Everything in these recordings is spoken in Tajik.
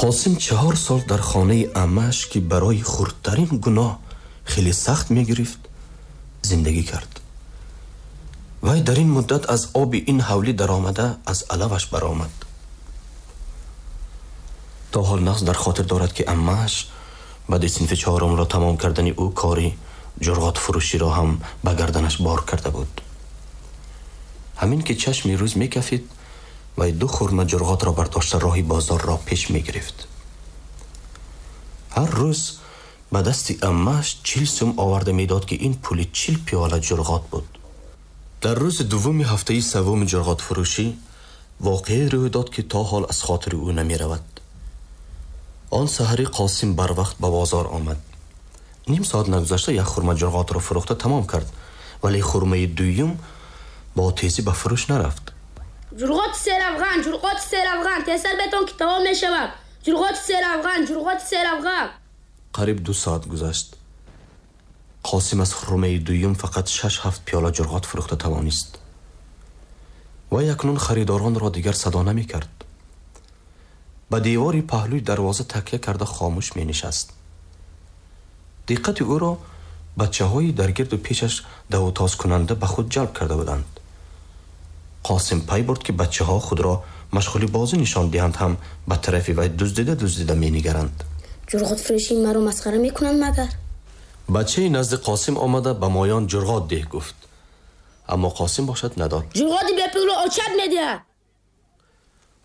Қосим 4 сол дар хонаи аммааш, ки барои хурдтарин гуноҳ хеле сахт мегирифт, зиндагӣ кард. Вай дар ин муддат аз оби ин ҳавлӣ даромада, аз алаваш баромад. То ҳол нағз дар хотир дорад, ки аммааш баъди синфи чорумро тамом кардани ӯ кори ҷурғотфурӯширо ҳам ба гарданаш бор карда буд. Ҳамин ки чашми рӯз мекафид, вай ду хурма ҷурғотро бардошта, роҳи бозорро пеш мегирифт. Ҳар рӯз ба дасти аммааш 40 сум оварда медод, ки ин пули 40 пиёла ҷурғот буд. Дар рӯзи дуввуми ҳафтаи севуми ҷурғотфурӯшӣ воқеае рӯй дод, ки то ҳол аз хотири ӯ намеравад. Он саҳарӣ Қосим барвақт ба бозор омад. Ним соат нагузашта як хурма ҷурғотро фурӯхта тамом кард, вале хурмаи дуюм бо тезӣ ба фурӯш нарафт. Ҷурғоти серавған, ҷурғоти серавған, тезтар бетон, ки тамом мешавад. Ҷурғоти серавған, ҷурғоти серавған. Қариб 2 соат гузашт. Қосим аз хурмаи дуюм фақат шаш ҳафт пиёла ҷурғот фурӯхта тавонист. Вай акнун харидоронро дигар садо намекард. Ба девори паҳлӯи дарвоза такя карда, хомӯш менишаст. Диққати ӯро бачаҳои дар гирду пешаш давутозкунанда ба худ ҷалб карда буданд. Қосим пай бурд, ки бачаҳо худро машғули бозӣ нишон диҳанд ҳам, ба тарафи вай дуздида дуздида менигаранд. Ҷурғотфурӯшии маро масхара мекунанд магар? Бачаи назди Қосим омада, ба моён ҷурғот деҳ гуфт, аммо Қосим бошад надод. Ҷурғоти бепулро очат медиҳад.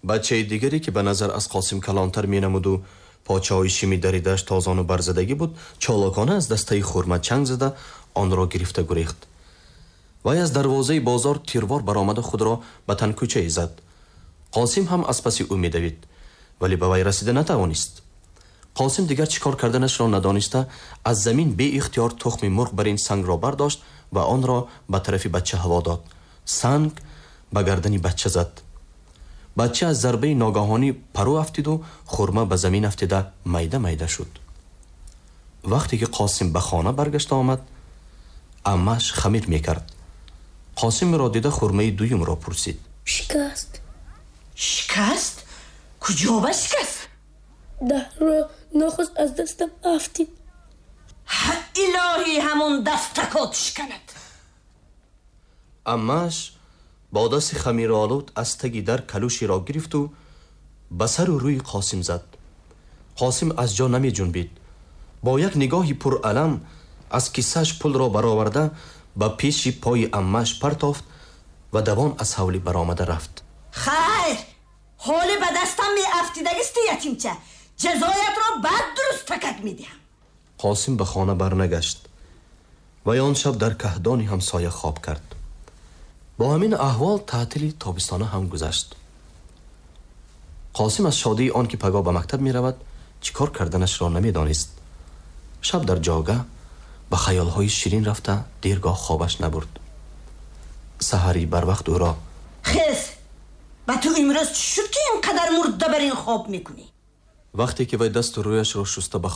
Бачаи дигаре, ки ба назар аз Қосим калонтар менамуду почаҳои шими даридааш тозону барзадагӣ буд, чолокона аз дастаи хурма чанг зада, онро гирифта гурехт. Вай аз дарвозаи бозор тирвор баромада, худро ба танкӯчае зад. Қосим ҳам аз паси ӯ медавид, вале ба вай расида натавонист. Қосим дигар чӣ кор карданашро надониста, аз замин беихтиёр тухми мурғ бар ин сангро бардошт ва онро ба тарафи бача ҳаво дод. Санг ба гардани бача зад. Бача аз зарбаи ногаҳонӣ пару афтиду хурма ба замин афтида, майда майда шуд. Вақте ки Қосим ба хона баргашта омад, аммааш хамир мекард. Қосимро дида, хурмаи дуюмро пурсид. Шикаст. Шикаст? Куҷо ба шикаст? Даҳро нохост аз дастам афтид. Илоҳӣ, ҳамон дастакот шиканад. Аммааш бо дасти хамиролуд аз таги дар калӯшеро гирифту ба сару рӯи Қосим зад. Қосим аз ҷо намеҷунбид. Бо як нигоҳи пуралам аз кисааш пулро бароварда, ба пеши пои аммааш партофт ва давон аз ҳавлӣ баромада рафт. Хайр, ҳоле ба дастам меафтидагисти, ятимча. Ҷазоятро баъд дуруст такак медиҳам. Қосим ба хона барнагашт. Вай он шаб дар каҳдони ҳамсоя хоб кард. Бо ҳамин аҳвол таътили тобистона ҳам гузашт. Қосим аз шодии он ки пагоҳ ба мактаб меравад, чӣ кор карданашро намедонист. Шаб дар ҷога ба хаёлҳои ширин рафта, дергоҳ хобаш набурд. Саҳарӣ барвақт ӯро Хез! Ба ту имрӯз чӣ шуд, ки ин қадар мурда бар ин хоб мекунӣ? Вақте ки вай дасту рӯяшро шуста ба